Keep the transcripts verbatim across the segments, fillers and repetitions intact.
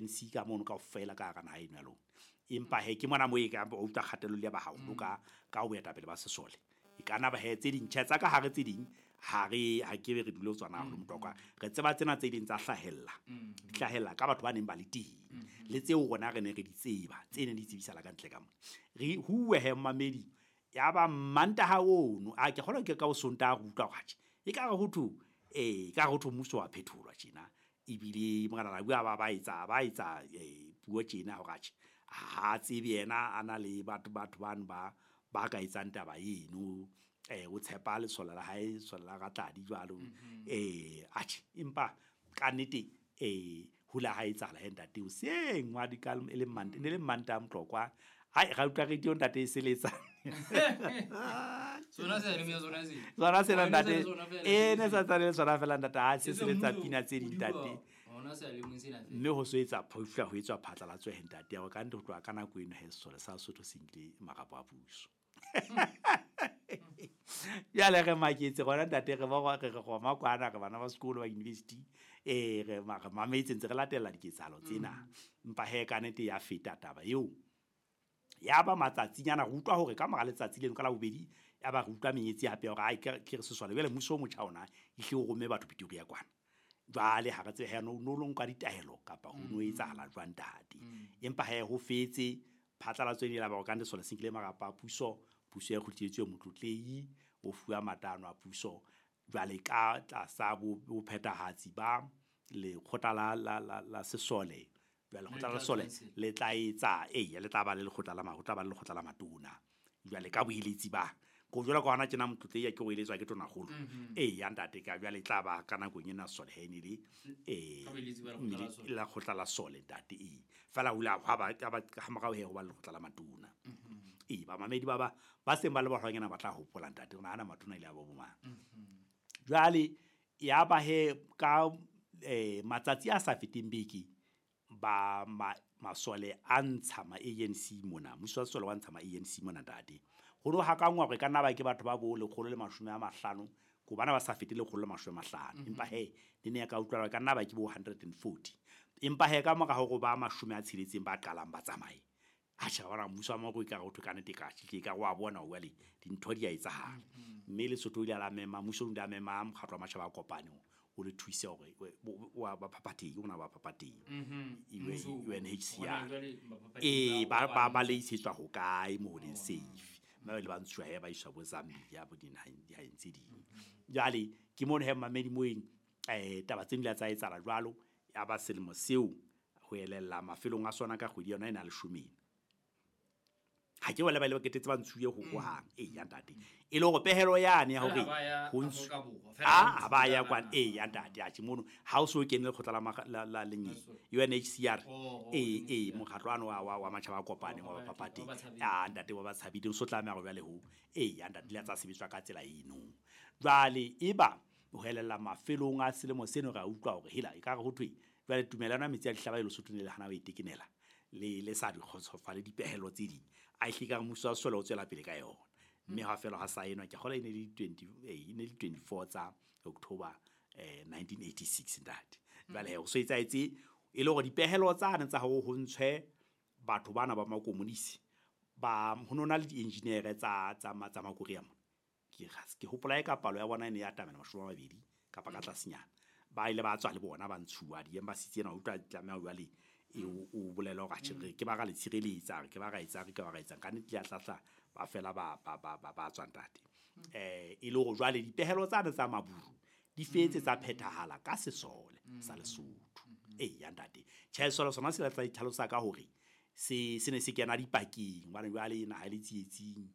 A N C ka mono kaofela ka hara naha eno ya lona. Empa he ke mona moo e ka o utlwa kgatello le ya ba haholo ka ka ho boetapele ba sesole. E ka nna ba he tse ding tjhe tsa ka hare tse ding ha re ha ke be re dule ho tsona haholo Motlokwa. Re tseba tsena tse ding tsa hlahella, di hlahella ka batho ba neng ba le teng le tseo rona re ne re di tseba tse neng di tsebisala ka ntle ka mona. Re huwe he mmamedi ya ba Mantaha ono a ke kgolwa ke ka o Sontaha re utlwa hore atjhe ekare ho thwe eh ekare ho thwe mmuso wa phetholwa tjena. Ebile Morena Rabu a ba ba etsa ba etsa eh puo tjena hore atjhe ha tsebe yena a na le batho batho bano ba ba ka etsang taba eno. Eh o tshepa lesole la hae, lesole la Ratladi jwalo. Eh atjhe empa ka nnete eh ho la ha etsahala he ntate hoseng wa di ka e le Manta ne le Mantaha Motlokwa. Hai ra utlwa radio ntate e seletsa. Sona se le sona se. Sona sena ntate. Sona fela. E ne sa tsane le sona fela ntate ha se E se seletsa mmuso pina tse ding o di ntate. bua, Ona se le mong sena fela. Mme ho so etsa phofu ho etswa phatlalatso he ntate ya hore ka nnete ho tloha ka nako eno he sesole sa Sesotho se nkile marapo a puso. Jwale re maketse rona ntate re ba re re roma kwana re bana ba sekolo ba university eh re ma re mametse ntse re latella diketsahalo tsena. Empa he ka nnete ya feta taba eo. Ya ba matsatsinyana re utlwa hore ka mora letsatsi leno ka la bobedi ya ba re utlwa menyetsi hape ya hore ai ke ke re sesole jwale mmuso o motjha ona ehlile o romme batho Pretoria kwana. Jwale ha re tsebe he no no lo nka ditaelo kapa ho no etsahala jwang ntate. Empa he ho fetse phatlalatso ene la ba hore ka nnete sesole se nkile marapo a puso, puso e kgutlisitswe Motlotlehi o fuwa matano a puso jwale ka tlasa bo bophethahatsi ba lekgotla la la la la sesole. Jwale lekgotla la sesole le tla etsa eya le tla ba le lekgotla la ma ho tla ba le lekgotla la matona. Jwale ka boeletsi ba ko jwalo ka hona tjena Motlotlehi ke o eletswa ke tonakgolo. Eya ntate ka jwale e tla ba ka nakong ena sesole he ne le eh Ka boeletsi ba lekgotla la sesole. la lekgotla la sole ntate ee. Feela ho ile ha ba ha ba ha morao he ho ba le lekgotla la matona. Ee ba mamedi ba ba ba seng ba le baholwanyana ba tla hopola ntate hore ana matona ile a bo bomang. Jwale ya ba he ka eh matsatsi a sa feteng beke ba ma, masole a ntsha ma A N C mona, mmuso wa sesole wa ntsha ma A N C mona ntate. Ho no hakangwa hore ka nna ba ke batho ba bo lekgolo le mashome a mahlano, ko bana ba sa fete lekgolo le mashome a mahlano. Empa he le ne ya ka utlwa ka nna ba ke bo hundred and forty. Empa he ka mora hore ba mashome a tsheletseng ba qalang ba tsamaye. Atjhe, wa bona mmuso wa Moko ekare ho thwe ka nnete ka tjhe, ekare wa bona jwale dintho di a etsahala. Mme Lesotho o ile a mema, mmuso o ile a mema mokgatlo wa matjhaba a kopaneng o le thuse hore wa ba phaphathehi, o na ba phaphathehi. Mmuso U N H C R. hona jwale baphaphathehi Ee, ba ba ba kopane. ba le isetswa hokae moo leng safe. Mme ba ile ba ntshuwa he ba iswa bo Zambia bo dinaheng dinaheng tse ding. Jwale ke mono he mamedi moeng eh taba tse di ile tsa etsahala jwalo ya ba selemo seo ho elella mafelong a sona ka kgwedi yona ena leshome ena. Ha ke wela ba ile ba ketetse ba ntshuye ho hohang. Ee ya ntate. E le hore pehelo yane ya hore Fela ha ba ya ho ntshu- Afrika Borwa, fela Ah, ba ha ba ya ntshuwa kwana. Ee ya ntate, atjhe mono ha o so kene lekgotla la ma-, la, la lenyeng, U N H C R. Oh, oh, Ee, U N H C R. ee, mokgatlo ano wa, wa, wa matjhaba a kopaneng, wa Wa ba- baphaphathehi. wa batshabedi. Ah, ntate wa batshabedi, o so tlameha hore jwale ho. Ee, ya ntate, le tsa sebetswa ka tsela eno. Jwale eba ho elella mafelong a selemo seno re a utlwa hore hela ekare ho thwe jwale tumelano ya metsi a dihlaba e Lesotho ne le hana ho e tekenela. Le, le sa di kgotsofale dipehelo tse ding. A ehlile ka mmuso wa sesole o tswela pele ka yona. Mme ha fela ha saenwa, ke kgolwa e ne le twenty, eh, e ne le twenty-four tsa October, eh, nineteen eighty-six ntate. Jwale he, ho so etsahetse e le hore dipehelo tsane tsa hore ho ntshwe batho bana ba makomonisi, ba, ho no na le di-engineer tsa, tsa ma-, tsa Makorea mona. Ke ke hopola e ka palo ya bona e ne ya atamela mashome a mabedi kapa ka tlasenyana. Ba ile ba tswa le bona ba ntshuwa di-embassy tsena, o utlwa tlameha jwale e o, o bolela hore atjhe, re ke ba ra le tshireletsa, re ke ba ra etsang, re ke ba ra etsang. Ka nnete le a hlahla, ba fela ba, ba, ba, ba, ba tswa ntate. Eh, e le hore jwale dipehelo tsane tsa Maburu di fetse tsa phethahala ka sesole sa Lesotho. Ee, ya ntate. Tjhe, sesole sona se la tla itlhalosa ka hore se, se ne se kena dipakeng, hobane jwale naha e le tsietsing,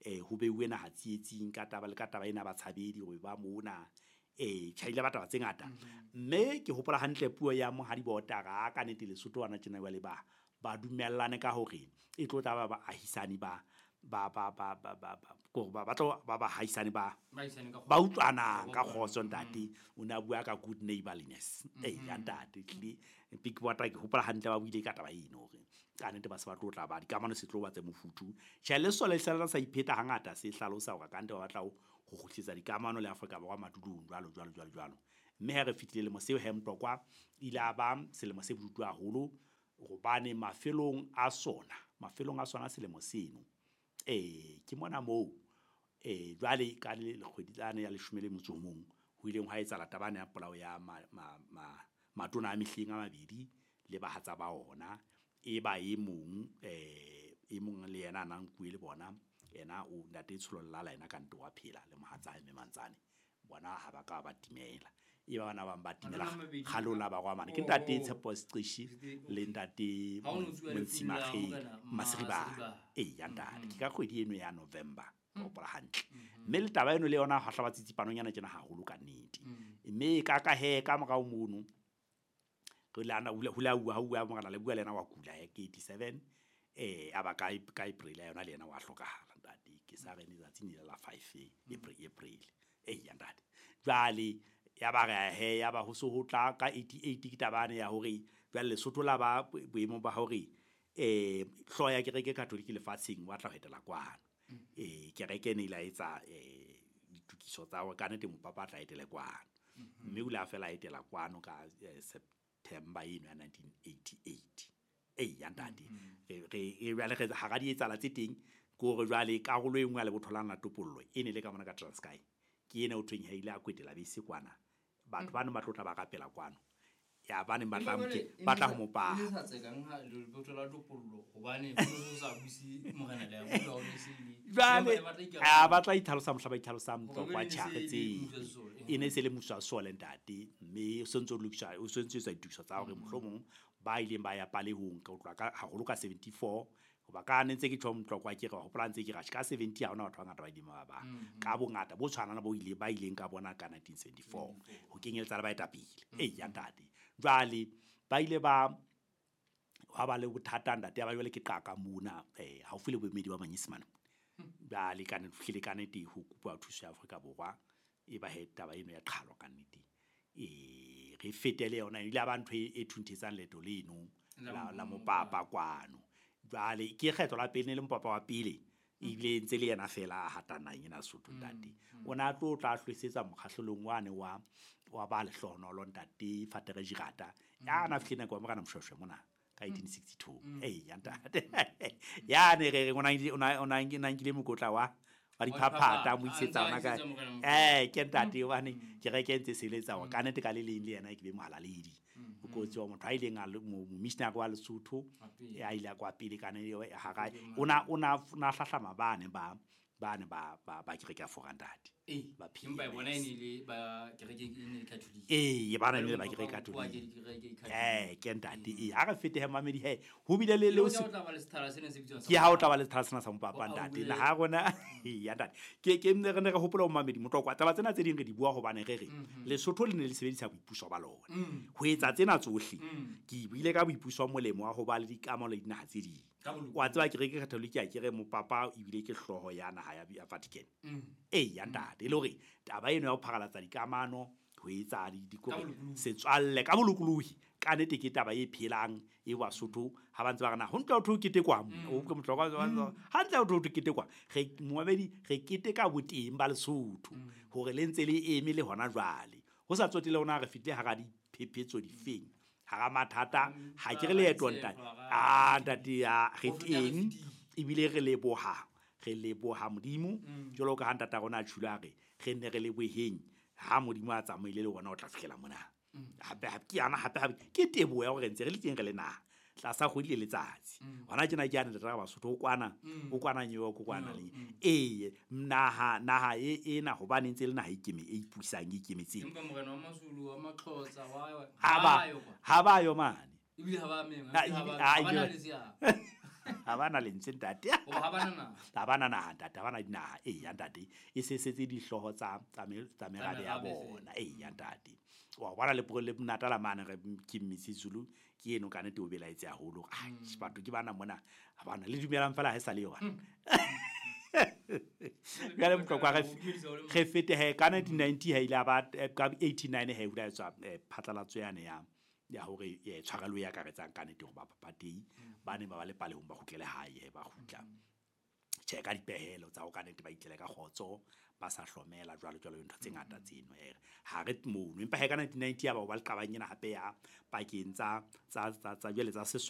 eh, ho beuwe naha tsietsing ka taba le ka taba ena batshabedi hore ba mona. Eh, tjhe, ile ba taba tse ngata. Mme ke hopola hantle puo ya Monghadi Botara ka nnete Lesotho hona tjena jwale ba, ba dumellane ka hore e tlo tla ba baahisani ba, ba, ba, ba, ba, ba, ba, kore ba, ba tlo ba baahisani ba, Baahisani ka kgotso. ba utlwanang ka Ba kgotso utlwanang. ntate. O ne a bua ka good neighborliness. Ee, ya ntate, ehlile Big Botara ke hopola hantle ba buile ka taba eno hore ka nnete ba se ba tlo tla ba dikamano se tlo ba tse mofuthu. Tjhe, le sesole se sa ipheta hangata se hlalosa hore ka nnete ba batla ho, ho kgutlisetsa dikamano le Afrika Borwa madulong jwalo, jwalo, jwalo, jwalo. Mme ha re fetile lemo seo he Motlokwa, ile a ba selemo se bodutu haholo. Hobane mafelong a sona, mafelong a sona selemo seno, eh ke mona moo eh jwale ka le kgwedi tsane ya leshome le motso o mong ho ileng hwa etsahala taba ya polao ya ma, ma, ma, matona a mehleng a mabedi le bahatsa ba ona. E ba e mong eh e mong le yena a nang nkuwe le bona, yena o ntate Tsholo Lala yena ka nto wa phela le mohatsa hae Mme Mantsane, bona ha ba ka ba timela. E ba bana ba bang ba timela kgalola ba kwa mane. Ke ntate Tshepo Seqeshi le ntate Montshimakgeng Masiribana. E ya ntate ke ka kgwedi eno ya November, ke hopola hantle. Mme le taba eno le yona ha hlaba tsitsipanonyana tjena haholo ka nnete. Mme ka ka he ka morao mono re le ana hula hula ha bua morena le bua le yena wa kula he ke eighty-seven eh aba ka ka April yona le yena wa hlokahala ntate. Ke sa re letsatsi ne la five April April e ya ntate. Jwale ya ba re he ya ba ho so ho tla ka eighty-eight ke tabane ya hore jwale Lesotho la ba boemong ba hore eh hloya ya kereke Catholic lefatsheng wa tla ho etela kwano. Eh kereke ne ile etsa eh ditukiso tsa hore ka nnete mopapa tla etele kwano. Mme o la fela etela kwano ka September eno ya nineteen eighty-eight. Eh ya ntate re re jwale re ha di etsala tse teng ke hore jwale karolo e nngwe ya lebotho la Natopollo e ne le ka mona ka Transkei. Ke ena o thweng ha ile a kwetela bese kwana. Batho ba ne ba tlotla ba rapela kwano. Ya ba ne ba tla ba tla ho mopa. E sa tsekang ha lebotho la Topollo hobane ho sa buse morena le ya ho ne se le. Jwale a ba tla itlhalosa mohla ba itlhalosa mtlokwa tjhare tse. E ne se le muso wa sole ntate mme o sentse o lokisa o sentse o ditukiso tsa hore mohlomong ba ileng ba ya palehong ka utlwa ka haholo ka seventy-four hoba ka ne ntse ke tjho mtlokwa ke re hopola ntse ke ra ka seventy ha hona batho ba ngata ba ileng ba ba ka bongata bo tshwanang bo ile ba ileng ka bona ka nineteen seventy-four ho kenyeletsa le baetapele. E ya ntate jwale ba ile ba ha ba le bothata ntate ba jwale ke qaka mona eh haufi le boemedi ba Manyesemane. Ba le ka ne fihlile ka nnete ho kopa thuso ya Afrika Borwa e ba he taba eno ya qhalo ka nnete. E re fetele yona ile ba ntho e thunthetsang leeto leno la la mopapa kwano. Jwale ke kgetho la pele ne le mopapa wa pele ebile ntse le yena fela a hatana ena Sotho ntate. O na tlo tla hlwesetsa mokgahlelong wane wa wa ba lehlohonolo ntate Fatere Jirata ya na fihlile nako ya morena Moshoeshoe mona ka eighteen sixty-two. Eh ya ntate ya ne re re ona ona ona nkile mokotla wa wa diphaphata mo isetsa ona ka eh ke ntate hobane ke re ke ntse seletsa hore ka nnete ka le leng le yena ke be mohalaledi. O kotsi wa motho a ileng a momissionary wa Lesotho ya ile kwa pele ka ne ha ga ona ona na hlahlama bane ba bane ba ba ba kereke ya Fora ntate. Ba empa bona e ne le ba kereke e ne le Catholic. Eh ba ne le ba kereke Catholic. Eh ke ntate e ha re fete he mamedi he ho bile le le ke ha o tla ba le sethala sena sa mopapa ntate na ha rona ya ntate ke ke ne re ne re hopola ho mamedi motlokwa taba tsena tse ding re di bua hobane re re Lesotho le ne le sebedisa boipuso ba lona ho etsa tsena tsohle. Ke buile ka boipuso molemo wa ho ba le dikamano le dinaha tse ding. Wa tseba kereke Catholic ya kere mopapa ebile ke hloho ya naha ya Vatican. Eh ya ntate e le hore taba eno ya ho pharalatsa dikamano ho etsa dikore setswalle ka bolokolohi ka nnete ke taba e phelang e Basotho ha ba ntse ba re na ho ntlo ho ketekwa o ke motlokwa ha ntlo ho ketekwa re moamedi re keteka boteng ba Lesotho hore le ntse le eme le hona jwale ho sa tsotele hona re fihle hara diphephetso difeng hara mathata ha ke re leeto ntate a ntate ya re teng ebile re leboha re leboha Modimo jwalo ka ha ntata rona a tshula re re ne re leboheng ha Modimo a tsamaile le rona o tla fihlela mona hape hape ke yana hape hape ke teboho ya hore ntse re le teng re le naha tlasa kgwedi le letsatsi hona tjena ke yana ntate Basotho o kwana o kwana New York o kwana le ee naha naha e ena hobane ntse le naha e ikeme e ipusang e ikemetseng empa morena wa Mazulu wa Maxhosa wa ha ha ba yo mane ebile ha ba meng ha ba na le seabo ha bana lentswe ntate ha bana na ha bana naha ntate ha bana dinaha e ya ntate e se setse dihlooho tsa tsa merabe ya bona e ya ntate wa bona le le Natala mane re ke Misizulu ke eno ka nnete o belaetse haholo ah batho ke bana mona ha bana le dumelang fela ha e sa le yona jwale motlokwa re re fete he ka nineteen ninety ha ile ba ka eighty-nine he hula etswa phatlalatso yane ya ya hore e tshwarelo ya karetsang ka nnete hore ba papatei ba ne ba ba le palehong ba kgutlele hae ba kgutla tjhe ka dipehelo tsa ho ka nnete ba itlele ka kgotso ba sa hlomela jwalo jwalo ntho tse ngata tseno e ha re mono empa he ka nineteen ninety ya ba ba le qabang ena hape ya pakeng tsa tsa tsa jwale tsa sesole.